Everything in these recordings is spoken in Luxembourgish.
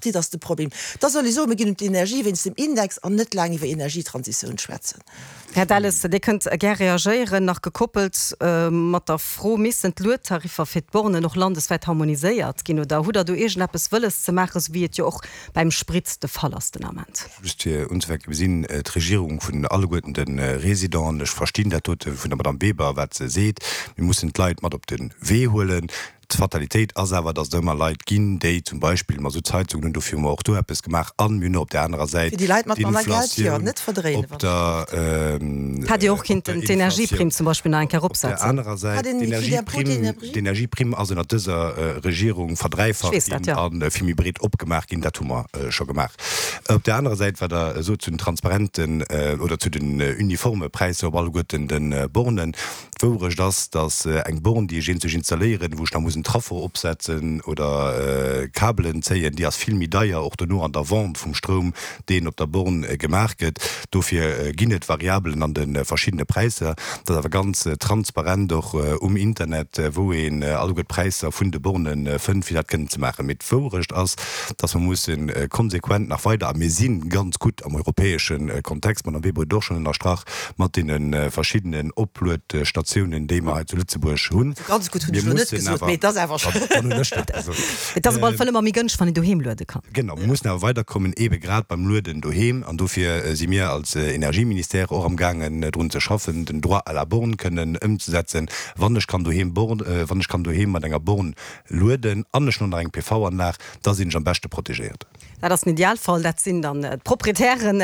Tripartite ass de Problem. Da soll ee soen, mir ginn un d'Energie wéinst dem Index an net laang iwwer Energietransitioun schwätzen. Här Delles, Dir kënnt gär reagéieren, nach gekoppelt mat der Fro, Missten d'Luedtariffer fir d'Bornen och landeswäit harmoniséiert ginn oder hutt Der do iergendeppes wëlles ze maachen, esou wéi et jo och beim Sprit de Fall ass den Ament? Just fir unzefänken, Mir sinn d'Regierung vun alleguerten de Résidenten. Ech verstinn dat dote vun der Madame Weber, wat se seet. Mir mussen d'Leit mat op de Wee huelen. D'Fatalitéit ass awer, datt et ëmmer Leit ginn, déi zum Beispill Masuttsheizungen hunn. Dofir hu mer och do eppes gemaach. A mir hunn och op där anerer Säit Fir déi Leit mat manner Geld, jo, d'inflation net verdréinen, op wann der, Hätt Dir och kinnten d'Energieprimm zum Beispill nach eng Kéier op der eropsetzen. anerer Säit, Hat een d'Energieprimm, d'Energie? d'Energieprimm ass ënnert dëser Regierung Ech verdräifacht weess dat, ginn jo. a vill méi breet opgemaach ginn. Dat hu mer scho gemaach. Op där anerer Säit, wat Der sot zu den transparenten oder zu den uniforme Präisser op alleguerten de Bornen, D'Wourecht ass, dass eng Born, déi ech eenzeg installéieren, wou ech nach muss en Traffo opsetzen oder Kabelen zéien, déi ass vill méi deier, och dono an der Vente vum Stroum, deen op der Born gemaach gëtt. Dofir ginn et Variabelen an de verschiddene Präisser. Dat ass awer ganz transparent och um Internet, wou een alleguer d'Präisser vun de Borne fënnt, fir dat kënnen ze maachen. Mee d'Wourecht ass, dass mer musse konsequent nach weider, a mir si ganz gutt am europäesche Kontext, d'Madame Weber huet et och schonn ënnerstrach, mat deene verschiddenen Opluetstatiounen, déi mer hei zu Lëtzebuerg hunn. Also ganz gutt hunn ech elo net gesot, mee et ass awer schonn. Dann hunn ech dat gesot. Et ass op alle Fall ëmmer méi gënschteg, wann een doheem luede kann. Genau, mir mussen awer weiderkommen, eebe grad beim Lueden doheem. An dofir si mir als Energieministère och amgaangen, drun ze schaffen, den Droit à la borne kënnen ëmzesetzen. Wann ech kann doheem born, wann ech kann doheem mat enger Born lueden an ech hunn och nach eng PV-Anlag, da sinn ech am beschte protegéiert. Dat ass den Idealfall. Dat sinn dann d'Proprietären,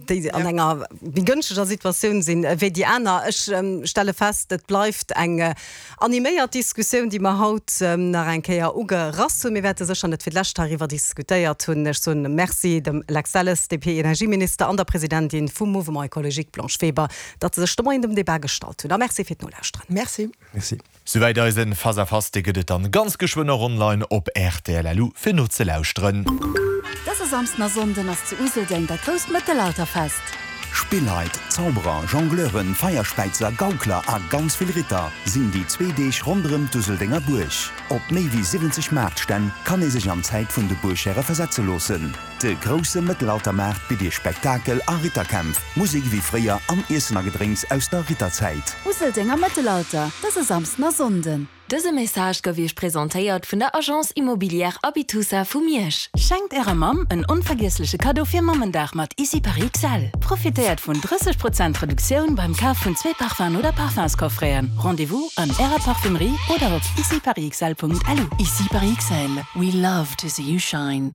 déi an enger méi gënschteger Situatioun sinn wéi déi aner. Ech stelle fest, et bleift eng animéiert Diskussioun, déi mer haut nach eng Kéier ugerass hunn. Mir wäerte sécher net fir d'lescht heiriwwer diskutéiert hunn. Ech soen Merci dem Lex Delles, DP-Energieminister, an der Presidentin vum Mouvement Ecologique Blanche Weber, datt se sech de Moien dem Debat gestallt hunn. A Merci fir d'Nolauschteren. Merci. Merci. Souwäit eisen Face à Face, dee gëtt et dann ganz geschwënn och online op rtl.lu fir nozelauschteren. Dëse Samsden a Sonnden ass zu Useldeng dat grousst Mëttelalterfest. Spilleit, Zauberer, Jongleuren, Feierspäizer, Gaukler a ganz vill Ritter sinn déi zwee Deeg ronderëm d'Useldenger Buerg. Op méi wéi 70 Maartstänn kann ee sech an d'Zäit vun de Buerghäre versetze loossen. De grousse Mëttelaltermaart bitt Iech Spektakel a Ritterkämpf, Musek ewéi fréier an Iessen a Gedrénks aus der Ritterzäit. Useldenger Mëttelalter, dëse Samsden a Sonnden. Dëse Message gouf Iech presentéiert vun der Agence Immobilière Abitusa vu Miersch. Schenkt Ärer Mamm en onvergiessleche Kaddo fir Mammendag mat Ici Paris XL. Profitéiert vun 30 Prozent Reduktioun beim Kaf vun zwee Parfum'en oder Parfumscoffreten. Rendez-vous an Ärer Parfumerie oder op iciparisxl.lu. Ici Paris XL, we love to see you shine.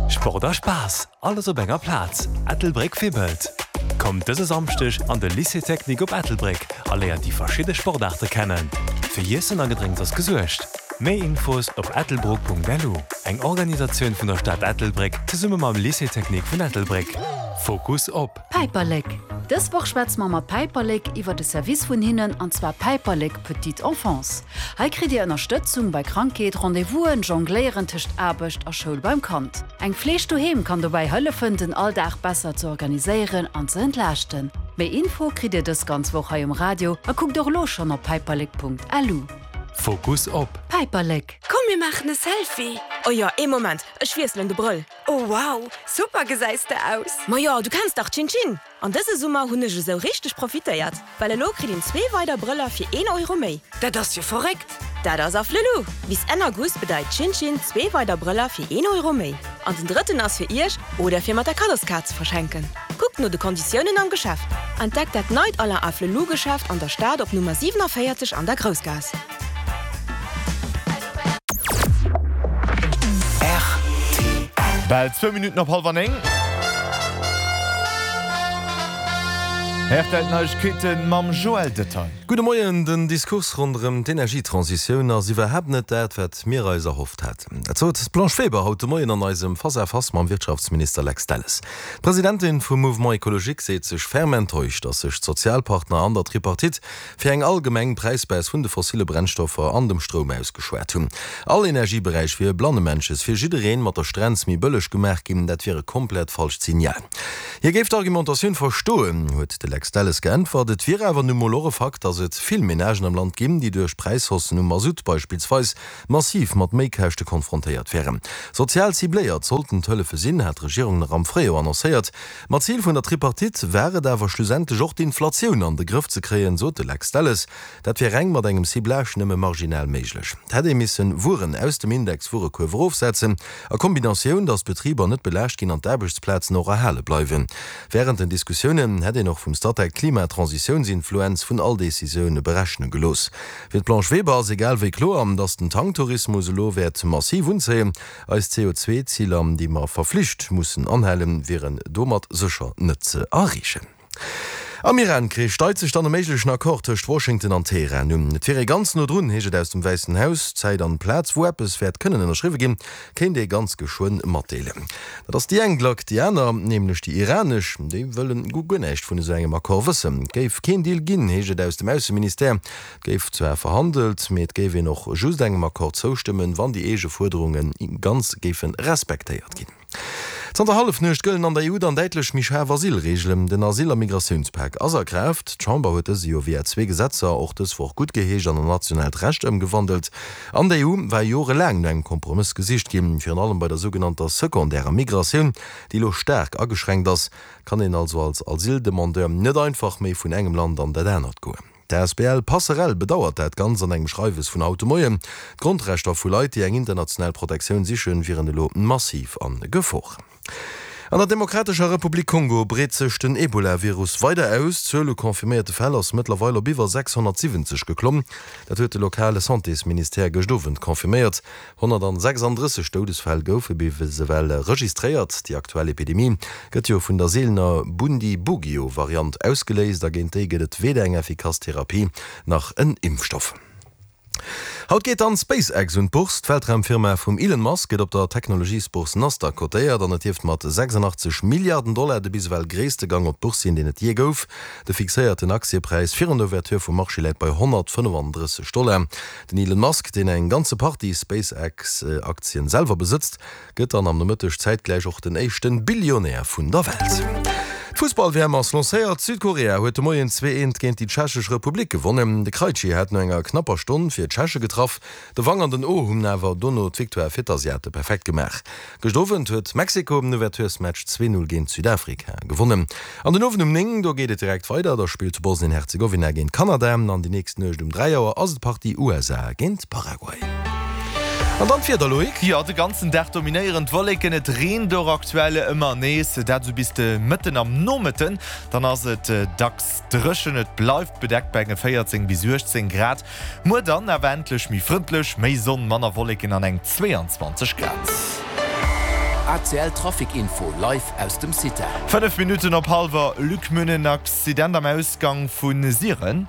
Sport a Spaass, alles op enger Plaz, Ettelbréck wibbelt! Kommt dëse Samschdeg an de Lycée Technique op Ettelbréck a léiert déi verschidde Sportaarte kennen. Fir Iessen a Gedrénks ass gesuergt. Méi Infos op ettelbruck.lu. Eng Organisatioun vun der Stad Ettelbréck zesumme mam Lycée Technique vun Ettelbréck. Fokus op. Päiperlek! Dës Woch schwätze mer mat Päiperlek iwwer de Service vun hinnen, an zwar Päiperlek Petite Enfance. Hei kritt dir Ënnerstëtzung bei Krankheet, Rendez-vousen, Jongléieren tëscht Aarbecht a Schoul beim Kand. Eng Fleeg doheem kann dobäi hëllefen, den Alldag besser ze organiséieren an ze entlaaschten. Méi Info kritt dir dës ganz Woch hei um Radio a kuckt och elo schonn op päiperlek.lu. Fokus op. Päiperlek! Komm mir maachen e Selfie! Oh jo, ee Moment, ech wiesselen de Brëll. Oh wow, super gesäis de aus! Majo, du kenns dach Chin Chin! An dëse Summer hunn ech esou richteg profitéiert, well elo kritt een zwee weider Brëller fir een Euro méi. Dat ass jo verréckt! Dat ass Afflelou! Bis Enn August bedeit Chin Chin zwee weider Brëller fir een Euro méi. An den drëtten ass fir iech oder fir mat der Kaddoskaart ze verschenken. Kuckt no de Konditiounen am Geschäft. Entdeckt dat neit Alain Afflelou Geschäft an der Stad op Nummer 47 an der Groussgaass. Bal zwou Minutten op hallwer 9. Rtl Neiegkeete mam Joël Detail. Gudde Moien, Den Diskurs ronderëm d'Energietransitioun ass iwwerhaapt net dat, wat mir eis erhofft haten. Dat sot d'Blanche Weber haut de Moien an eisem Face à Face mam Wirtschaftsminister Lex Delles. D'Presidentin vum Mouvement Ecologique seet sech ferm enttäuscht, datt sech d'Sozialpartner an der Tripartite fir eng allgemeng Präisbaisse vun de fossille Brennstoffer an dem Stroum ausgeschwat hunn. All Energieberäich wier blannemännches fir jiddereen mat der Strenz méi bëlleg gemaach ginn. Dat wier e komplett falscht Signal. Hie géif d'Argumentatioun verstoen, huet de Lex. Lex Delles geäntwert. Et wier awer nu mol och e Fakt, datt et vill Menagen am Land ginn, déi duerch d'Präishaussen um Masutt beispillsweis massiv mat Méikäschte konfrontéiert wären. Sozial cibléiert sollten d'Hëllefe sinn, hat d'Regierung nach am Fréijoer annoncéiert. Ma Zil vun der Tripartite war et awer schlussendlech och d'Inflatioun an de Grëff ze kréien, sot de Lex Delles. Dat wier reng mat engem Ciblage nëmme marginal méiglech. Et hätt ee missen Wueren aus dem Index-Wuerekuerf erofsetzen, a Kombinatioun, datt d'Betriber net belaascht ginn an d'Aarbechtsplazen och erhale bleiwen. Wärend den Diskussiounen hätt een och vum Statec d'Klimatransitionsinfluenz vun all Decisioun berechne gelooss. Fir d'Blanche Weber ass egal wéi kloer, datt den Tanktourismus elo wäert massiv unzéien. Eis CO2-Ziler, déi mer verflicht mussen anhalen, wieren domat sécher net ze erreechen. Am Iran-Krich deit sech dann e méiglechen Accord tëscht Washington an Teheran un. Et wier ee ganz no drun, heescht et aus dem Wäissen Haus. D'Zäit an d'Plaz, wou eppes wäert kënnen ënnerschriwwe ginn, kéint ee ganz geschwënn matdeelen. Dat ass déi eng Glack. Déi aner, nämlech déi iranesch, déi wëllen guer näischt vun esou engem Accord wëssen. Et géif keen Deal ginn, heescht et aus dem Ausseministère. Et géif zwar verhandelt, mee et géif een och just engem Accord zoustëmmen, wann déi eege Fuerderunge ganz géife respektéiert ginn. Zanter Hallefnuecht gëllen an der EU dann däitlech méi schaarf Asylreegelen. Den Asyl a Migratiounspak ass a Kraaft. D'Chamber huet dëse jo via zwee Gesetzer och dës Woch guttgeheescht an an nationaalt Recht ëmgewandelt. An der EU war jorelaang no engem Kompromëss gesicht ginn, virun allem bei der sougenannter sekondärer Migratioun, déi elo staark ageschränkt ass. Kann een also als Asyldemandeur net einfach méi vun engem Land an dat anert goen. D'asbl Passerell bedauert dat Ganzt an engem Schreiwes vun haut de Moien. D'Grondrechter vu Leit, déi eng international Protektioun sichen, wieren elo massiv a Gefor. An der Demokratescher Republik Kongo breet sech den Ebola-Virus weider aus. D'Zuel u confirméierte Fäll ass mëttlerweil op iwwer 670 geklomm. Dat huet de lokale Santésministère gëscht Owend confirméiert. 136 Doudesfäll goufe bis ewell registréiert. Déi aktuell Epidemie gëtt jo vun der seelener Bundibugyo-Variant ausgeléist a géint déi gëtt et weder eng effikass Therapie nach en Impfstoff. Haut geet dann SpaceX un d'Bourse. D'Weltraumfirma vum Elon Musk gëtt op der Technologiesbourse Nasdaq kotéiert an et dierft mat 86 Milliarden Dollar de bis ewell gréisste Gang op d'Bourse sinn, deen et jee gouf. De fixéierten Aktiepräis virun der Ouverture vum Marché läit bei 135 Dollar. Den Elon Musk, deen eng ganze Partie SpaceX-Aktien selwer besëtzt, gëtt dann am Nomëtteg zäitgläich och den éischten Billionär vun der Welt. D'Fussball-WM ass lancéiert. Südkorea huet de Moien 2, 1 géint déi Tschechesch Republik gewonnen. De Krejci hat no enger knapper Stonn fir d'Tscheche getraff. De Wang an den Oh hunn awer dono d'Victoire fir d'Asiate perfekt gemaach. Gëscht Owend huet Mexiko den Ouverturesmatch 2, 0 géint Südafrika gewonnen. An den Owend um 9, do geet et direkt weider, da spillt Bosnien-Herzegowina géint Kanada an déi nächst Nuecht um 3 Auer ass et d'Partie USA géint Paraguay. An dann d'Wieder, Loïc? Jo, de ganzen Dag dominéieren d'Wolleken, et reent och aktuell ëmmer nees, dat esou bis de Mëtten am Nomëtten. Dann ass et dacks dréchen, et bleift bedeckt bei enge 14 bis 18 Grad. Muer dann awer endlech méi frëndlech, méi Sonn, manner Wolleken an eng 22 Grad. ACL Trafic Info live aus dem CITA. 5 Minutten op hallwer, Luc Münnen, Accident am Ausgang vu Siren.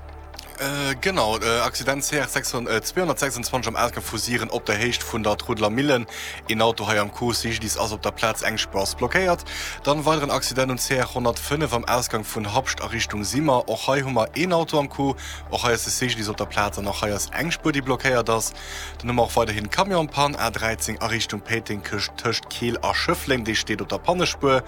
Genau, Accident CR 226 am Ausgang vu Siren op der Héicht vun der Trudler Millen. Een Auto hei am Coup, CGDIS ass op der Plaz, eng Spuer ass blockéiert. Dann weideren Accident um CR 105 am Ausgang vun Habscht a Richtung Simmer. Och hei hu mer een Auto am Coup. Och hei ass de CGDIS op der Plaz an och hei ass eng Spuer, déi blockéiert ass. Dann hu mer och weiderhin Camion-Pann, A13 a Richtung Péiteng tëscht Keel a Schëffleng, dee steet op der Pannespuer.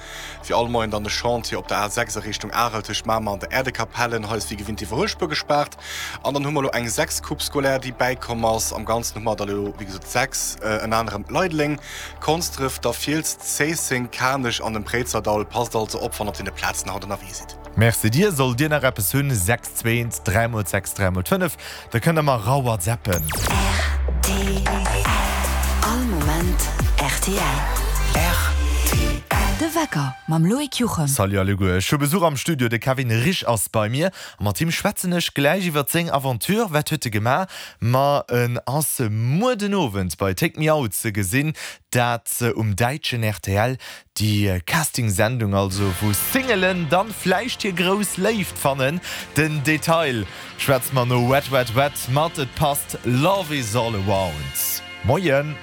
Wéi all Moien dann de Chantier op der A6 a Richtung Arel tëscht Mamer an der Äerdekapellen. Hei ass wéi gewinnt d'Iwwerhuelspuer gespaart. An dann hu mer elo eng 6 Coupe scolaire, déi bäikomm ass. Am Ganzen hu mer der elo wéi gesot 6, ënner anerem Leideleng, Konsdref, der Fiels, Zéisseng, Kanech an dem Préizerdaul. Passt also op, wann der op deene Plazen haut ënnerwee sidd. Merci dir. Sollt dir nach eppes hunn, 6 2 1 3 mol 6 3 mol 5, da kënnt der mer rawhatsappen. Rtl. All Moment rtl. Rtl. De Wecker mam Loïc Juchem. Salut alleguer, ech hu Besuch am Studio, de Kevin Risch ass bei mir a mat him schwätzen ech gläich iwwert seng Aventure. Wat huet e gemaach? Ma en ass muer den Owend bei Take Me Out ze gesinn, dat um däitschen rtl. Déi Casting-Sendung also, wou Singelen dann vläicht hir grouss Léift fannen. Den Detail schwätze mer no Wet Wet Wet mat Et passt Love is all around. Moien!